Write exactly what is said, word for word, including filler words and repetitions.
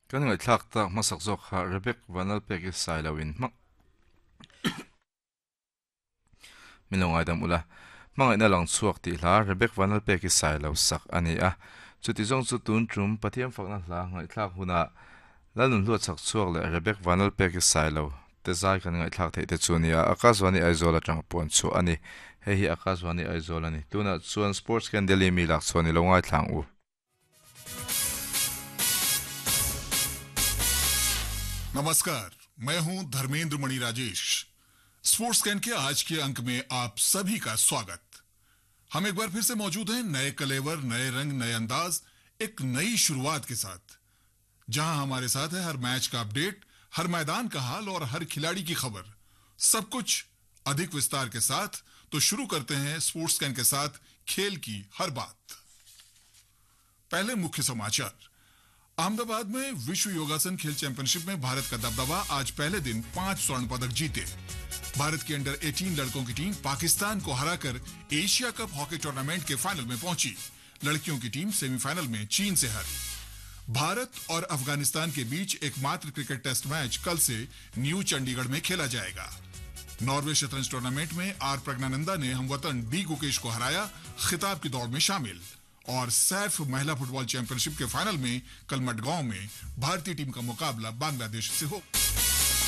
Kan ngai thlak tak hmasak zawk kha Rebek Vanlalpeki Sailo-in hmang min lo ngaidam ula. Hmangaihna lang chhuak tih hla Rebek Vanlalpeki Sailo sak a ni a. Chuti zawng chu tun tum Pathian fakna hla ngaihthlak hunah Lalnun hluat chak chhuak leh Rebek Vanlalpeki Sailo te zai kan ngaihthlak theih te chu a ni a. Akashvani Aizawl atang puan chhuah a ni. Hei hi Akashvani Aizawl a ni. Tunah chuan Sports Can Delhi mi lak chhuah ni lo ngaithlang u. नमस्कार, मैं हूं धर्मेंद्र मणि Rajesh. Sports can के आज के अंक में आप सभी का स्वागत। हम एक बार फिर से मौजूद हैं नए कलेवर, नए रंग, नए अंदाज, एक नई शुरुआत के साथ, जहां हमारे साथ है हर मैच का अपडेट, हर मैदान का हाल और हर खिलाड़ी की खबर, सब कुछ अधिक विस्तार के साथ। तो शुरू करते हैं स्पोर्ट्स can के साथ खेल की हर बात। पहले मुख्य समाचार। अहमदाबाद में विश्व योगासन खेल चैंपियनशिप में भारत का दबदबा, आज पहले दिन पांच स्वर्ण पदक जीते। भारत की अंडर अठारह लड़कों की टीम पाकिस्तान को हराकर Asia cup hockey tournament के फाइनल में पहुंची। लड़कियों की टीम सेमीफाइनल में चीन से हारी। भारत और अफगानिस्तान के बीच एकमात्र cricket test match कल से न्यू चंडीगढ़ में खेला जाएगा। नॉर्वे शतरंज टूर्नामेंट में are Praggnanandhaa ने हमवतन डी गुकेश को हराया, खिताब की दौड़ में शामिल। और सैफ महिला फुटबॉल चैंपियनशिप के फाइनल में कल मडगांव में भारतीय टीम का मुकाबला बांग्लादेश से हो।